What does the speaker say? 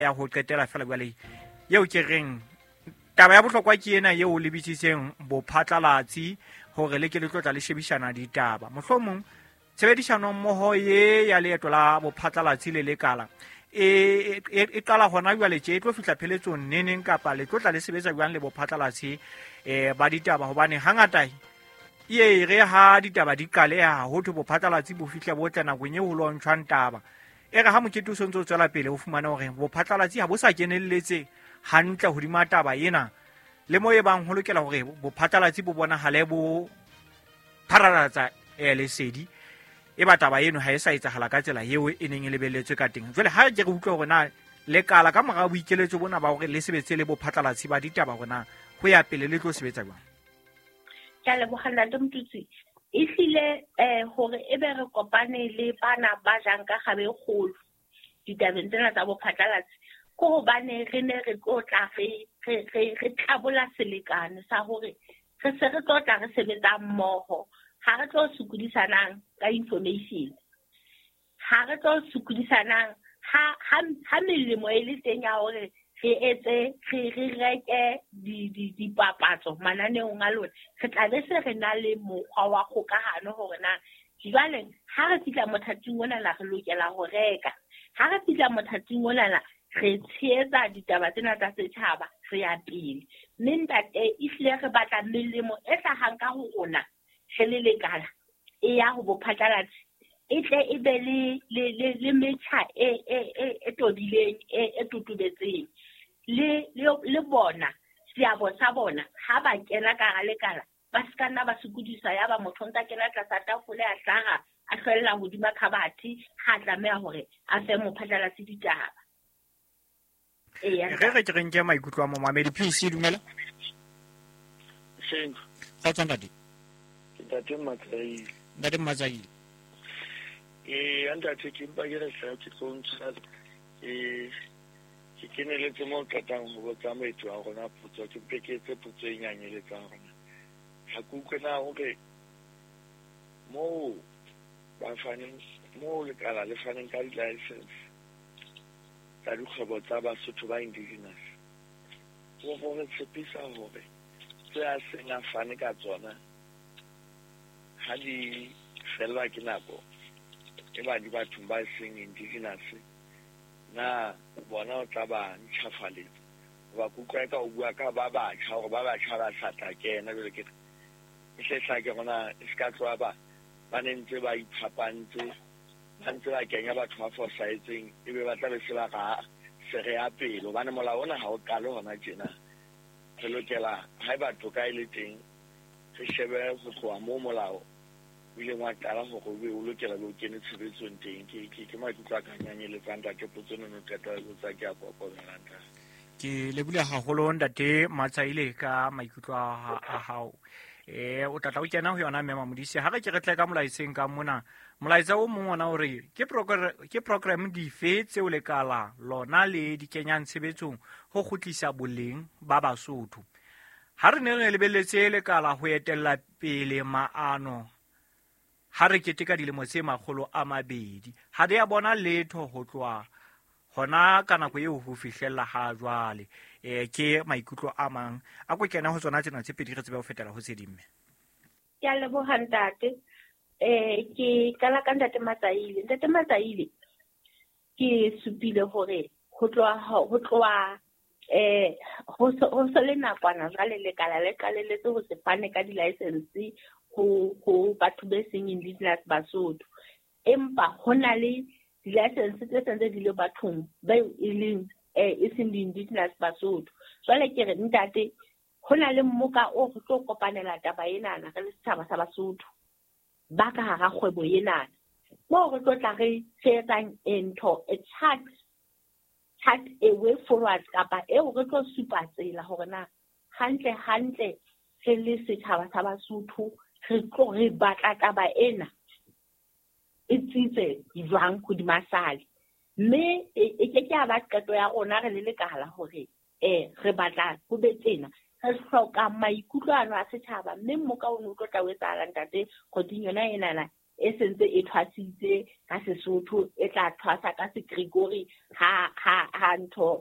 Ya ho qetela fela jwale eo ke reng taba ya bohlokwa ke ena eo o lebisitseng bophatlalatsi hore le ke le tlo tla le shebishana ditaba. Mohlomong tshebedisano mmoho ye ya leeto la bophatlalatsi le lekala e e e qala hona jwale tje e tlo fihla pheletsong neneng kapa le tlo tla le sebetsa jwang le bophatlalatsi ba ditaba hobane hangata e e re ha ditaba di qaleha ho thwe bophatlalatsi bo fihla bo tla nakong eo ho lontshwang taba. E re ha mokete o sontse o tswela pele o fumane hore bophatlalatsi ha bo sa kenelletse hantle hodima taba ena le mo e bang ho lokela hore bophatlalatsi bo bonahale bo pharalatsa lesedi e ba taba eno ha e sa etsahala ka tsela eo e neng e lebelletswe ka teng. Jwale ha ke re utlwe hore na lekala ka mora boikeletso bona ba hore le sebetse le bophatlalatsi ba ditaba hore na ho ya pele le tlo sebetsa jwang. Ke a leboga ntate Motutsi. Ehlile hore ebe re kopane le bana ba jang ka kgabe e kgolo ditabeng tsena tsa bophatlalatsi ke hobane re ne re tlo tla re re re re tlabola selekane sa hore re se re tlo tla re sebetsa mmoho. Ha re tlo sokodisanang ka information. Ha re tlo sokodisanang ha ha ha melemo e le teng ya hore re etse re re reke di di dipapatso mananeong a lona. Re tla be se re na le mokgwa wa kgokahano hore na jwale ha re fihla mothating onana re lokela ho reka. Ha re fihla mothating onana re tshehetsa ditaba tsena tsa setjhaba re ya pele. Mme ntate ehlile re batla melemo e hlahang ka ho rona re le lekala e ya ho bophatlalatsi e tle e be le le le le metjha e e e e tobileng e e totobetseng. Le le le bona seabo sa bona ha ba kena ka hara lekala ba se ka nna ba sokodisa ya ba motho o ntsa kena tlasa tafole a hlaha a hlwella hodima khabathe ha tlameha hore a fe mophatlalatsi ditaba. Eya. Re re ke re nke maikutlo a momamedi. PC dumela. Seng. Kgotsa ntate. Ke ntate Mmatsaile. Ntate Mmatsaile. Ee, ntate ke mpa ke re hle ke tlo ntsha ke keneletse mo qetang ho botsa moeti wa rona potso, ke mpe ke etse potso e nyanyeletsang rona. Ha ke utlwe na hore moo ba faneng, moo lekala le faneng ka di-license tsa dikgwebo tsa Basotho ba indigenous, ho re tshepisa hore tse a seng a fane ka tsona ha di fellwa ke nako e ba di bathong ba seng indigenous, na bona o tla ba ntjhafaletsa? Hoba ke utlwa eka o bua ka ba batjha hore ba batjha ba sa tla kena. Jwale ke re e hle hlake hore e se ka tloha ba ba ne ntse ba iphapantse, ba ntse ba kenya batho ba fosahetseng, ebe ba tla be se ba ra se re ya pele. Hobane molao ona ha o qale hona tjena. Re lokela haeba toka e le teng, re shebe ho tloha moo molao o ileng wa qala hore o be o lokela o kene tshebetsong teng. Ke ke ke maikutlo a ka nyanyeletsang ntate potso eno no qeta ho botsa ke a kokomela ntate. Ke lebohile haholo ntate Matsaile ka maikutlo a hao. O tla tla o kena ho yona mme Mamodise. Ha re ke re tle ka molaetseng ka mona. Molaetsa o mong ona o re ke ke program dife tseo lekala lona le di kenyang tshebetsong ho kgutlisa boleng ba Basotho. Ha re ne re lebelletse lekala ho etella pele maano ha re keteka dilemo tse 200, ha re a bona letho ho tloha hona ka nako eo ho fihlella ha jwale. Ke maikutlo a mang a ko kena ho tsona tsena tse pedi re tsebe ho fetela ho tse ding mme. Ke a leboha ntate. Ke qala ka ntate Matsaile. Ntate Matsaile, ke supile hore ho tloha ho tloha ho se le nakwana jwale lekala le qalelletse ho se fane ka di-license ho ho batho be seng indigenous Basotho. Empa ho na le di-license tse sentse di le bathong ba e leng e seng di-indigenous Basotho. Jwale ke re ntate, ho na le mmoka o re tlo kopanela taba enana re le setjhaba sa Basotho ba ka hara kgwebo enana. Moo re tlo tla re etsang ntho a chart, chart a way forward kapa eo re tlo supa tsela hore na hantle hantle re le setjhaba sa Basotho re tlo re batla taba ena e tsitse jwang hodima sale. Mme e ke ke ya ba qeto ya rona re le lekala hore re batla ho be tjena. Re hloka maikutlo ano a setjhaba, mme mmoka o no tlo tla o etsahala ntate kgweding yona enana e sentse e thwasitse ka Sesotho, e tla thwasa ka Segrigori ha ntho